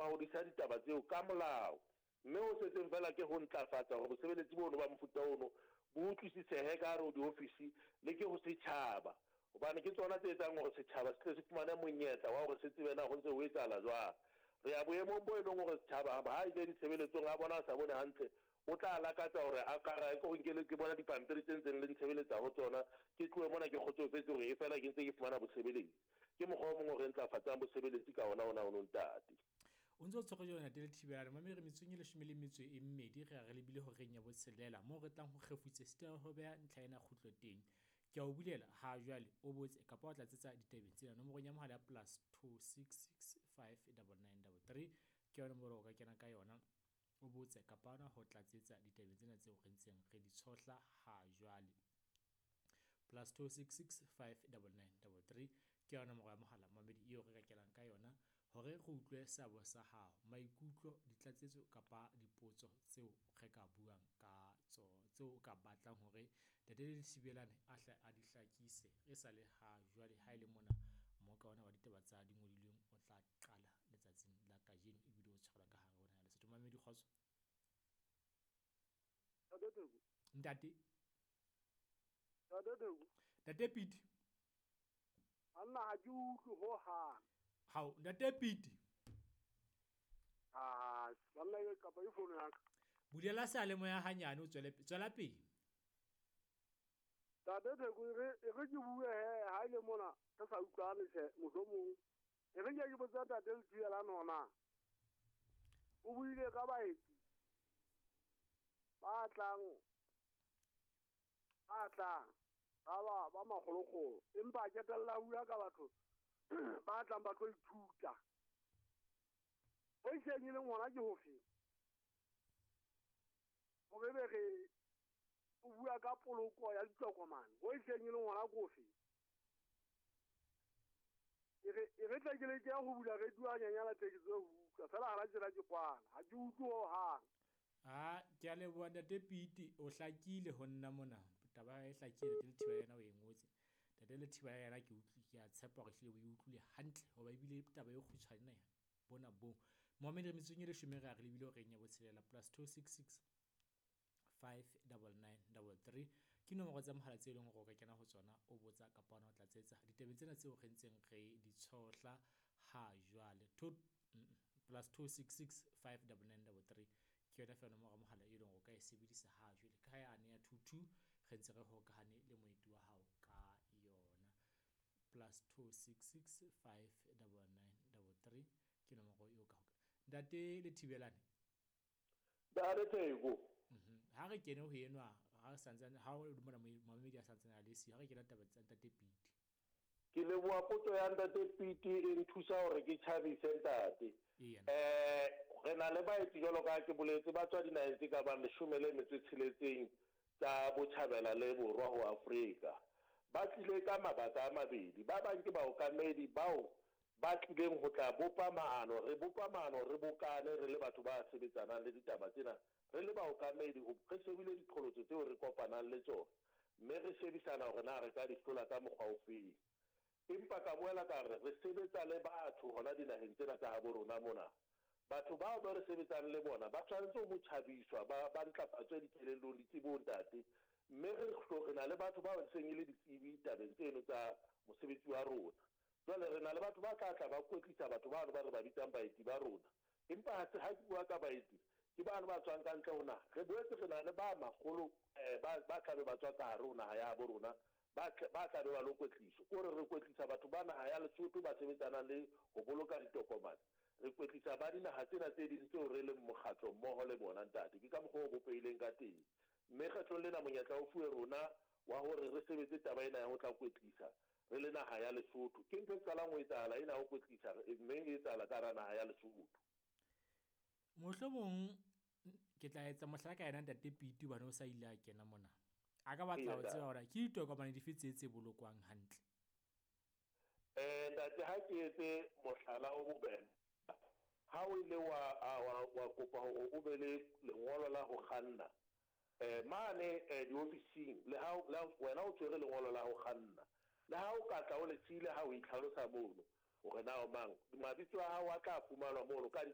ba hodisa ditaba tseo ka molao. Mme ho setseng feela ke ho ntlafatsa hore bosebeletsi bono ba mofuta ono bo utlwisisehe ka hare ho diofisi le ke ho setjhaba, hobane ke tsona tse etsang hore setjhaba se tle se fumane monyetla wa hore se tsebe na ho ntse ho etsahala jwang. Re ya boemong bo e leng hore setjhaba ha a ile ditshebeletsong a bona a sa bone hantle, o tla lakatsa hore a ka re, Ke nke ke bone dipampiri tse ntseng le ntshebeletsa ho tsona, ke tlohe mona ke kgotsofetse hore efela ke ntse ke fumana bosebeletsi. Ke mokgwa o mong o re ntlafatsang bosebeletsi ka ona ona ono, ntate. O ntse o tshwere jalo ntate Lethibelane. Mamedi re metsotsong e 12 re ya re lebile horeng ya botshelela moo re tlang ho kgefutse sita ho beha ntlha ena kgutlo teng. Ke a o bulela ha jwale o botse kapa wa tlatsetsa ditabeng tsena nomorong ya mohala ya +266 59933 ke yona nomoro o ka kena ka yona o botse kapa ona ho tlatsetsa ditabeng tsena tseo re ntseng re di tshohla ha jwale. +266 59933 ke yona nomoro ya mohala mamedi eo re ka kenang ka yona hore re utlwe seabo sa hao, maikutlo, ditlatsetso kapa dipotso tseo re ka buang ka tsona, tseo o ka batlang hore Ntate Lethibelane a hle a di hlakise e sa le ha jwale ha e le mona mmoka ona wa ditaba tsa dingodilweng o tla qala letsatsing la kajeno ebile o tshwarelwa ka hare ho naha ya Lesotho. Mamedi kgotso. Ntate. Ntate Theko. Ntate Piti. Anna ha ke utlwe ho hang. Hao, Ntate Piti. Ah, banna e kapa e fono ya ka. Bulela seyalemoya hanyane o tswele tswela pele. Ntate Theko e re e re ke bue he ha ile mona re sa utlwane tjhe mohlomong. E re ke ke botsa Ntate Lethibelane hona. O buile ka baeti ba tlang ba tlang ba ba ba makgolokgolo empa a ketella bua ka batho ba tlang ba tlo ithuta. Ho iseng e leng hona ke hofe? Hore be re o bua ka poloko ya ditokomane, ho iseng e leng hona ke hofe? E re e re tle ke leke ho bula radio hanyanyana tle ke tsebe ho utlwa feela hana tjena ke kwala ha ke utlwe ho hang. Ah, ke a leboha Ntate Piti, o hlakile ho nna mona. Taba e hlakile Ntate Lethiba yena o e ngotse. Ntate Lethiba yena ke utlwi ke a tshepa hore ehlile o e utlwile hantle hoba ebile taba e kgutshwane bona boo. Mohammed re metsotsong e leshome re a re lebile horeng ya botshelela +266 59933 ke nomoro tsa mohala tse e leng hore o ka kena ho tsona o botsa kapa ona o tlatsetsa ditabeng tsena tseo re ntseng re di tshohla ha jwale. +266 59933 ke yona fela nomoro ya mohala e leng hore o ka e sebedisa ha jwale ka ha yane ya 22 re ntse re hokahane le moeti wa hao ka yona. +266 59933 ke nomoro eo ka hoka. Ntate Lethibelane. Ntate Theko. Ha re kene ho enwa ha santsane ha o mona momamedi a santsane a le siyo, ha re kena taba tsa Ntate Piti. Ke leboha potso ya Ntate Piti e nthusa hore ke tjhabise ntate. Re na le baeti jwalo ka ke boletse ba tswa dinaheng tse ka bang 16 tsa botjhabela le borwa ho Afrika. Ba tlile ka mabaka a mabedi. Ba bang ke baokamedi bao ba tlileng ho tla bopa maano. Re bopa maano re bokane re le batho ba sebetsanang le ditaba tsena. Re le baokamedi re shebile diqholotso tseo re kopanang le tsona. Mme re shebisana hore na re ka di hlola ka mokgwa ofeng. Empa ka boela ka re re sebetsa le batho hona dinaheng tsena tsa habo rona mona. Batho bao ba re sebetsang le bona ba tshwanetse ho tjhabiswa ba ba ntlafatswe dikelellong ditsebong ntate. Mme re re na le batho bao seng e le ditsebi tabeng tseno tsa mosebetsi wa rona. Jwale re na le batho ba tla tla ba kwetlisa batho bano ba re ba bitsang baeti ba rona. Empa ha se ha ke bua ka baeti ke bano ba tswang ka ntle ho naha. Re boetse re na le ba makgolo ba ba tlabe ba tswa ka hare ho naha ya habo rona ba tla be ba lo kwetliswa. Ke hore re kwetlisa batho ba naha ya Lesotho ba sebetsanang le ho boloka ditokomane. Re kwetlisa ba dinaha tsena tse ding tseo re leng mokgatlo mmoho le bona ntate. Ke ka mokgwa o bopehileng ka teng. Mme kgetlong lena monyetla o fuwe rona wa hore re sebetse taba ena ya ho tla kwetlisa re le naha ya Lesotho. Ke ntho e qalang ho etsahala ena ho kwetlisa mme e etsahala ka hara naha ya Lesotho. Mohlomong ke tla etsa mohlala ka yena Ntate Piti hobane o sa ile a kena mona. A ka batla ho tseba hore ke ditokomane dife tse tse bolokwang hantle. Ntate ha ke etse mohlala o bobebe. Ha o ile wa wa kopa hore o be le lengolo la ho kganna. Mane diofising le ha wena o tshwere lengolo la ho kganna. Le ha o ka tla o le siile ha o itlhalosa mono hore na o mang, mabitso a hao a tla fumanwa mono ka